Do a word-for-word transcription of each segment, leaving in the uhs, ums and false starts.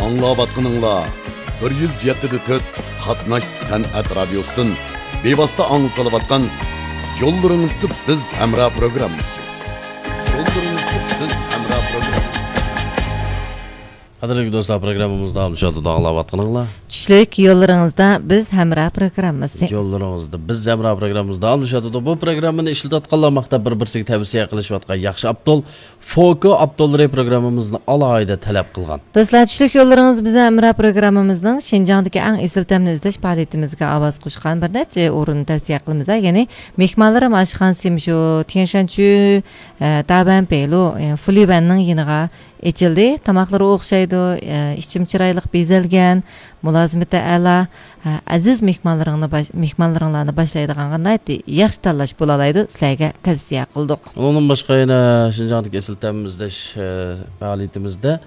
ئاڭلاۋاتقىنىڭلار بىر يۈز يەتتە دە تۆت قاتناش سەنئەت رادىيوسىدىن بىۋاسىتە ئاڭلىتىلىۋاتقان يوللىرىڭىزدا بىز ھەمراھ پروگراممىسى. يوللىرىڭىزدا بىز ھەمراھ پروگراممىسى. قەدىرلىك دوستلار، پروگراممىمىز داۋاملىشىۋاتىدۇ، ئاڭلاۋاتقىنىڭلار. چۈشلۈك يوللىرىڭىزدا بىز ھەمراھ پروگراممىسى. يوللىرىڭىزدا بىز ھەمراھ پروگراممىمىز داۋاملىشىۋاتىدۇ. بۇ پروگراممىنى ئىشلىتىۋاتقانلار ماختاپ بىر-، بىرسىگە تەۋسىيە قىلىشىۋاتقان ياخشى ئاپتول فوكو ئاپتوللىرى پروگراممىمىزنى ئالاھىدە تەلەپ قىلغان. دوستلار، چۈشلۈك يوللىرىڭىز بىزنىڭ ھەمراھ پروگراممىمىزنىڭ شىنجاڭدىكى ئەڭ ئېسىل تەمنى ئىزدەش پائالىيىتىمىزگە ئاۋاز قوشقان بىر نەچچە ئورۇننى تەۋسىيە قىلىمىز. يەنى مېھمانلىرىم ئاشخانىسى مۇشۇ تيەنشانچۈ، ئە، دابەن پېلۇ، ئە، فۇلىۋەننىڭ يېنىغا ئېچىلدى. تاماقلىرى ئوخشايدۇ، ئە، ئىچىم چىرايلىق بېزەلگەن، مۇلازىمىتى ئەلا. ئە، ئەزىز مېھمانلىرىڭنى باش-، مېھمانلىرىڭلارنى باشلايدىغانغا ناھايىتى ياخشى تاللاش بولالايدۇ، سىلەرگە تەۋسىيە قىلدۇق. ئۇنىڭدىن باشقا يەنە شىنجاڭدىكى ئېسىل تەمىزلەش، ئە، پائالىيىتىمىزدە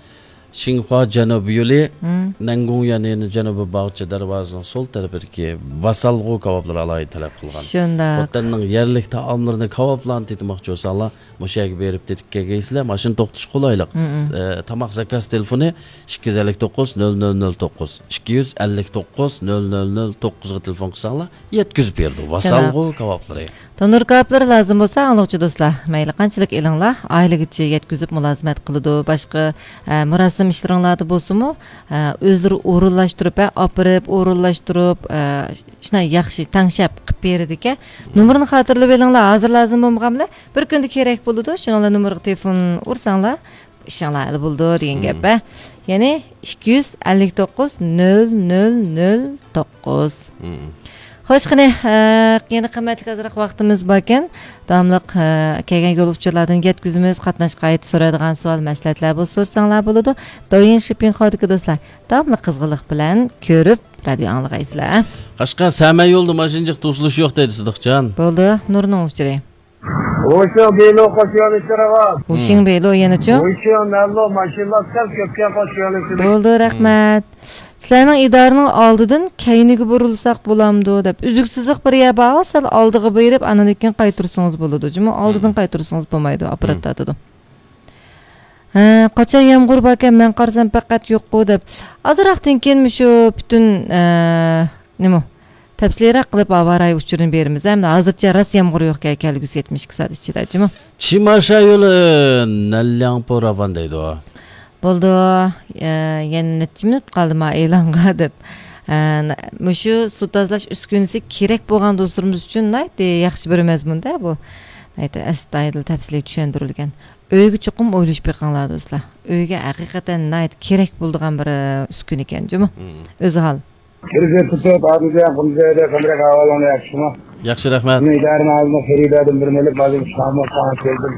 شىنخۇا جەنۇبىي يولى، مم. نەنگۇڭيەن يەنى جەنۇبىي باغچە دەرۋازىسىنىڭ سول تەرىپىدىكى ۋاسالغۇ كاۋاپلىرى ئالاھىدە تەلەپ قىلغان. شۇنداق. خوتەننىڭ يەرلىك تائاملىرىنى، كاۋاپلارنى تېتىماقچى بولساڭلار، مۇشۇ يەرگە بېرىپ تېتىپ كەلگەيسىلەر، ماشىنا توختىتىش قولايلىق. مم. ئە، تاماق زاكاز تېلېفونى ئىككى يۈز ئەللىك توققۇز، نۆل نۆل نۆل توققۇز، ئىككى يۈز ئەللىك توققۇز، نۆل نۆل نۆل توققۇزغا تېلېفون قىلساڭلار، يەتكۈزۈپ بېرىدۇ. ۋاسالغۇ كاۋاپلىرى. تونۇر كاۋاپلىرى لازىم بولسا، ئاڭلىغۇچى دوستلار، مەيلى قانچىلىك ئېلىڭلار، ئائىلىگىچە يەتكۈزۈپ مۇلازىمەت قىلىدۇ. باشقا، ئە، مۇراسىم ئىشلىرىڭلاردا بولسىمۇ، ئە، ئۆزلىرى ئورۇنلاشتۇرۇپ، ئە، ئاپىرىپ، ئورۇنلاشتۇرۇپ، ئە، شۇنداق ياخشى تەڭشەپ قىلىپ بېرىدىكەن. نومۇرنى خاتىرىلىۋېلىڭلار، ھازىر لازىم بولمىغانلا، بىر كۈندە كېرەك بولىدۇ. شۇنىڭ بىلەن نومۇرغا تېلېفون ئۇرساڭلار، ئىشىڭلار ھەل بولىدۇ دېگەن گەپ، ھە. يەنى ئىككى يۈز ئەللىك توققۇز، نۆل نۆل نۆل توققۇز. خوش، قېنى، ئە، يەنە قىممەتلىك ئازراق ۋاقتىمىز باركەن، داۋاملىق، ئە، كەلگەن يول ئۇچۇرلاردىن يەتكۈزىمىز. قاتناش قايتا سورايدىغان سوئال، مەسلىھەتلەر بولسا سورىساڭلار بولىدۇ. دويىن شىپىڭ خاۋدىكى دوستلار، داۋاملىق قىزغىنلىق بىلەن كۆرۈپ، رادىيو ئاڭلىغايسىلەر. قەشقەر سەمە يولىدا ماشىنا جىق توسۇلۇش يوق دەيدۇ، سىدىقجان. بولدى، نۇرنىڭ ئۇچۇرى. ھوشياڭ بېلو قوشۇۋېلىشى راۋان. ھوشياڭ بېلو يەنىچۇ؟ ھوشياڭ نەنلو ماشىنىلار سەل كۆپكەن قوشۇۋېلىشى. بولدى، رەھمەت. سىلەرنىڭ ئىدارىنىڭ ئالدىدىن كەينىگە بۇرۇلساق بولامدۇ دەپ، ئۈزۈكسىزلىق بىر يەر بار، سەل ئالدىغا بېرىپ، ئاندىن كېيىن قايتۇرسىڭىز بولىدۇ. جۇمۇ، ئالدىدىن قايتۇرسىڭىز بولمايدۇ، ئاپپارات تارتىدۇ. ھە، قاچان يامغۇر باركەن، مەن قارىسام پەقەت يوققۇ دەپ. ئازراقتىن كېيىن مۇشۇ پۈتۈن، ئە، نېمە، تەپسىلىيراق قىلىپ ھاۋا رايى ئۇچۇرىنى بېرىمىز. ئەمدى ھازىرچە راست يامغۇر يوقكەن، كەلگۈسى يەتمىش ئىككى سائەت ئىچىدە، جۇمۇ. چىماشا يولى نەنلياڭپو راۋان دەيدۇ. بولدى، ئە، يەنە نەچچە مىنۇت قالدى ما ئېلانغا دەپ. ئە، مۇشۇ سۇ تازىلاش ئۈسكۈنىسى كېرەك بولغان دوستلىرىمىز ئۈچۈن ناھايىتى ياخشى بىر مەزمۇندا بۇ. ناھايىتى ئەستايىدىل تەپسىلىي چۈشەندۈرۈلگەن. ئۆيگە چوقۇم ئويلىشىپ بېقىڭلار، دوستلار. ئۆيگە ھەقىقەتەن ناھايىتى كېرەك بولىدىغان بىر، ئە، ئۈسكۈنە ئىكەن، جۇمۇ. مم. ئۆزى ھال. كىرگۈزۈپ تۇتۇپ، ئادىل جان قۇمزەيدە قەمرەك ئەھۋالىڭلار ياخشىمۇ؟ ياخشى، رەھمەت. مەن ئىدارىنىڭ ئالدىدا خېرىداردىن بىر مىللەت مالىم ئىشلەمۇ ساڭا كەلدىم.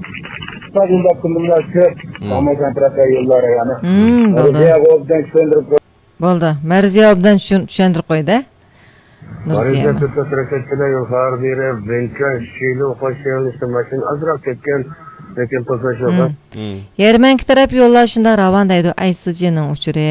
ئىسپات يوللاپتىم بۇنلار كۆپ. مم. ساڭا كونترات يوللار يەنە. مم، بولدى. بولدى. مەرزىيە ئوبدان چۈشەندۈرۈپ قوي-، بولدى. مەرزىيە ئوبدان چۈشەن-، چۈشەندۈرۈپ قويدى. نۇرزىيەمە. يول خارابىلىرى، بىنكا، شىلو، خوش يېڭىلىشتىن ماشىنا ئازراق كەتكەن، لېكىن توسۇلۇش يوق. مم. مم. يەرمەنكە تەرەپ يوللار شۇنداق راۋان دەيدۇ، ئەيسىجىنىڭ ئۇچۇرى.